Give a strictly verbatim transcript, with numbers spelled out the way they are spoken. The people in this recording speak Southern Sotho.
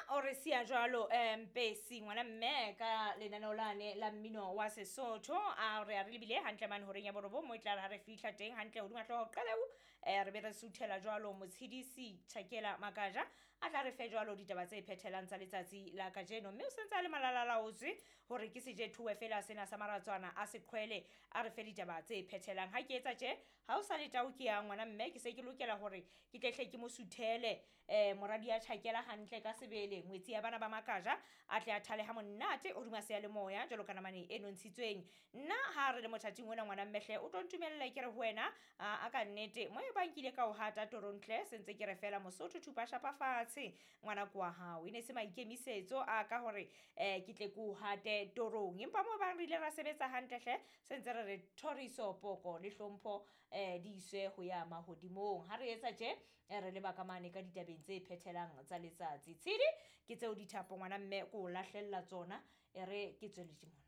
O re siya jwalo um Mpesi ngwana mme ka lenaneo lane la mmino wa Sesotho. A re a re lebile hantle mane horeng ya borobong, mo e tla re ha re fihla teng hantle hodima hlooho qaleu, um re be re suthela jwalo Motshidisi Tjhakela Makaja a tla re fe jwalo ditaba tse phethelang tsa letsatsi la kajeno. Mme o sentse a le malalalaotswe hore ke sejethuwe fela sena sa maratswana a seqhwele, a re fe ditaba tse phethelang. Ha ke etsa tje, ha o sa le tao ke ya ngwana mme, ke se ke lokela hore ke tlehle ke mo suthele um moradi ya Tjhakela hantle ka sebele, ngwetsi ya bana ba Makaja, a tle a thale ha monate hodima seyalemoya jwalo ka namane e nontshitsweng. Nna ha re le mothating ona ngwana mmehle, o tlo ntumelle ke re ho wena, a ka nnete mo e bang ke ile ka o hata torontle, se ntse ke re fela Mosotho thupa shapa fatshe ngwana ko wa hao. E ne se maikemisetso a ka hore um ke tle ke o hate torong, empa mo bang re ile ra sebetsa hantle hle, se ntse re re thoriso, poko le hlompho um di iswe ho ya mahodimong. Ha re etsa tje, re leba ka mane ka ditabeng tse phethelang tsa letsatsi. Tshedi ke tseo dithapo ngwana mme, ko o lahlella tsona, e re ke tswele mona.